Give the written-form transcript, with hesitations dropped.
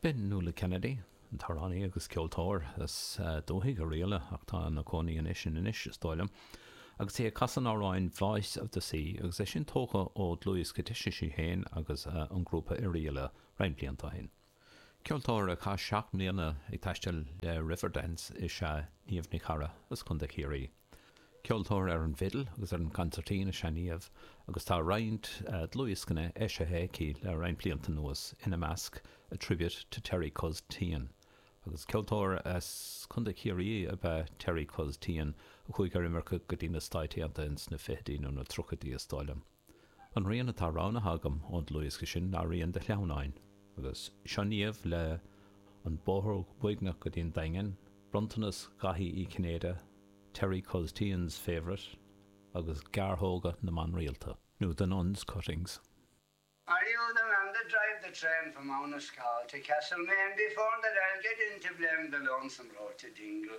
B'in Nuala Kennedy, an t-amhránaí agus ceoltóir as dúthaigh Oirialla ach tá ina cónaí anois in Inis, is dóigh liom, agus í ag casadh an amhráin Voice of the Sea agus é sin tógtha ó dhlúthdhiosca a d'eisigh sí féin agus an grúpa Oirialla roinnt blianta ó shin. Ceoltóir a chaith 7 mbliana ag taisteal le Riverdance is ea Niamh Ní Charra as Contae Chiarraí. Ceoltóir ar an bhfidil agus ar an gconsairtín is ea Niamh agus tá roinnt dlúthdhioscanna eisithe aici le roinnt blianta anuas, ina measc A Tribute to Terry Cuz Teehan. Agus ceoltóir as Contae Chiarraí ab ea Terry Cuz Teehan a chuaigh ar imirce go dtí na Stáit Aontaithe ins na fichidí nó na tríochaidí is dóigh liom. An rian atá roghnaithe agam ón dlúthdhiosca sin ná rian de shleamhnáin. Agus seo Niamh le An Bóthar Uaigneach go dtí an Daingean, Bronntanas Dhaithí Uí Chinnéide, Terry Cuz Teehan's Favourite agus Gearrthóga na mBan Rialta, nó The Nuns' Cuttings. Are you the man that drive the train from Annascaul to Castlemaine before that I'll get in to blame the lonesome road to Dingle?